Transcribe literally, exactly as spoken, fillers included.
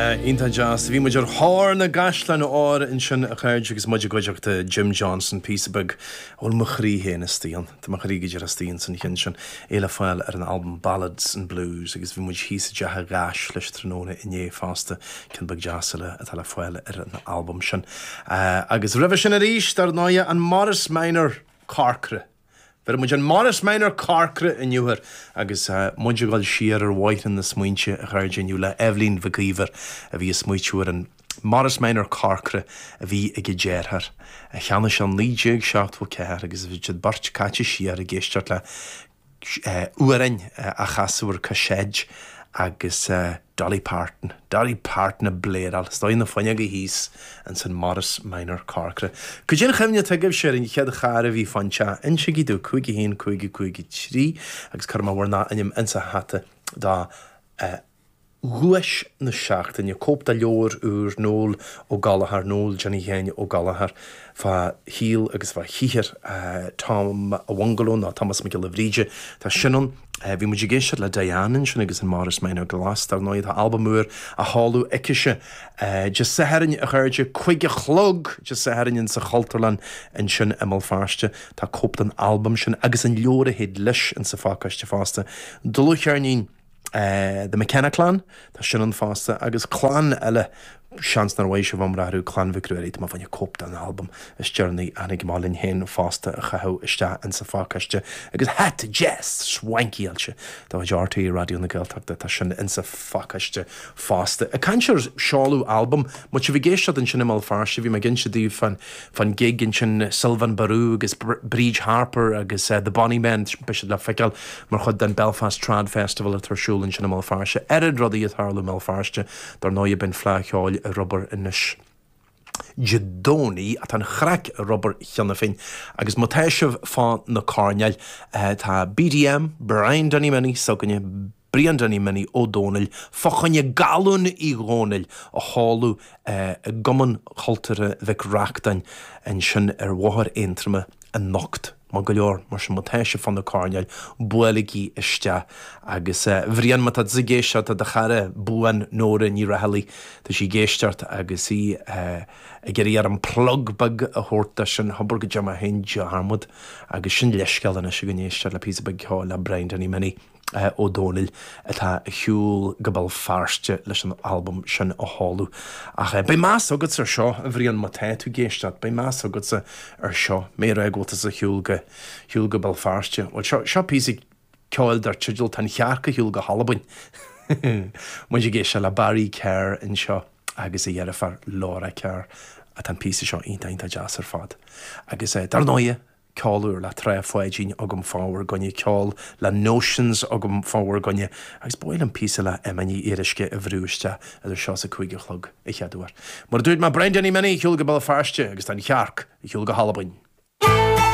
Iontach deas. Bhí muid ar thóir na gcaisleán óir ansin a chairde agus muid i gcuideachta Jim Johnson píosa beag bhfuil mo chroí féin istigh ann. Tá mo chroí go dtí istigh san cheann sin é le fáil ar an albam Ballads and Blues agus bhí muid thíos i dteach an Gháis leis tráthnóna inné fosta ceann beag deas eile atá le fáil ar an albam sin. Uh, agus roimhe sin arís dar ndóigh an Morris Minor Corcra. Bhí muid an Morris Minor Corcra inniu agus uh, muid ag dul siar ar bhóithre na smaointe a chairde inniu le Eibhlín Mhic Íomhair a bhí ag smaoitiú ar an Morris Minor Corcra a bhí ag a deartháir. A cheannaigh sé naoi déag seachtó ceathair agus bhí siad beirt caite siar ag éisteacht le amhráin á chasadh ar cassette agus uh, Dolly Parton, Dolly Parton ag bléaráil, Stoi na fuinneoga thíos ansan Morris Minor Corcra. Cad é an chuimhne atá agaibhse ar an chéad charr a bhí fán teach insígí domh cúig a haon cúig cúig trí agus cuirfidh mé bhur n-ainm insa hata do uh, Dhuais na seachtaine cóip de leabhar úr Noel Ó Gallchóir Noel Johnny Sheáin Ó Gallchóir fá shaol agus fá shaothar uh, Tom a Bhungalow ná Thomas Mac Giolla Bhríde Tá sin ann uh, bhí muid ag éisteacht le Diane sin agus an Morris Minor Glas dar ndóigh tá albam úr á sheoladh aicise uh, Dé Sathairn a chairde cúig a chlog Dé Sathairn sa Chultúrlann ansin i mBéal Feirste tá cóip den albam sin agus an leabhar a théid leis in sa phacáiste fosta. Dlúthcheirnín Uh, the McKenna clan Tá sin ann fosta agus clann eile seans nár mhaith sibh amrú Clann Mhic Ruairí má bhaine cóip den albam is deireanaí a tháinig linn féin fosta a chaitheamh isteach in sa phacáiste agus hata deas swankyáilte Tá R T É Raidió na Gaeltachta tá sin in sa phacáiste fosta. Ag caint ar seoladh albam mu bhí géiste an sin mal feirste bhí me ginse daoibh fan fan gig ansin Sylvan Barú agus Bríd Harper agus uh, the Bonny Men beidh siad le feiceáil mar chuid den Belfast Trad Festival atá ar siúl ansin i mBéal Feirste. Ar rudaí ag tarlú i mBéal Feirste dar ndóigh beidh Fleadh Cheoil ar obair anois. Dé Domhnaigh atá an chraic ar obair cheana féin agus má tá sibh fá na coirnéil uh, tá B D M Brian Danny Minnie s'againne Brian Danny Minnie Ó Dónaill fá choinne Galún Uí Dhónaill a sheoladh uh, i gCumann Cultúrtha Mhic Reachtain ansin ar Bhóthar Aontroma anocht. Má go leor mar sin má tá sibh fá na coirnéil buailigí isteach agus uh, Bhrian má tá tú ag éisteacht tá do chara buan Nóra Ní Raghallaigh tá sí ag éisteacht agus í uh, ag iarraidh an plug beag a thabhairt sin hobair go dema hen dearmad agus sin leisceal is go n-éisteacht le píosa beag ceoil le Brian Danny Minnie. Uh, Ó Dónaill atá ar shiúl go Béal Feirste leis an albam sin a sheoladh. Ach uh, beidh meas agat ar seo a Bhriain má tá tú ag éisteacht, beidh meas agatsa ar seo mé rá go bhfuil ar shiúl go shiúl go Béal Feirste. Well seo seo píosa ceoil dar teideal Tá an chearc ar shiúl go hAlbain. Muid ag éisteacht le Barry Kerr anseo agus a dheirfiúr Laura Kerr atá an píosa seo iontach deas ar fad. Agus uh, dar ndóigh ceol úr le Trá Pháidín agam fá bhur gcoinne ceol le Notions agam fá bhur gcoinne agus b'fhéidir an píosa le Emma Ní Fhíoruisce a bhrú isteach idir seo is a cúig a chlog a cheadúir. Mar dúirt má Brian Danny Minnie ar shiúl go Béal Feirste agus tá an chearc ar shiúl go hAlbain.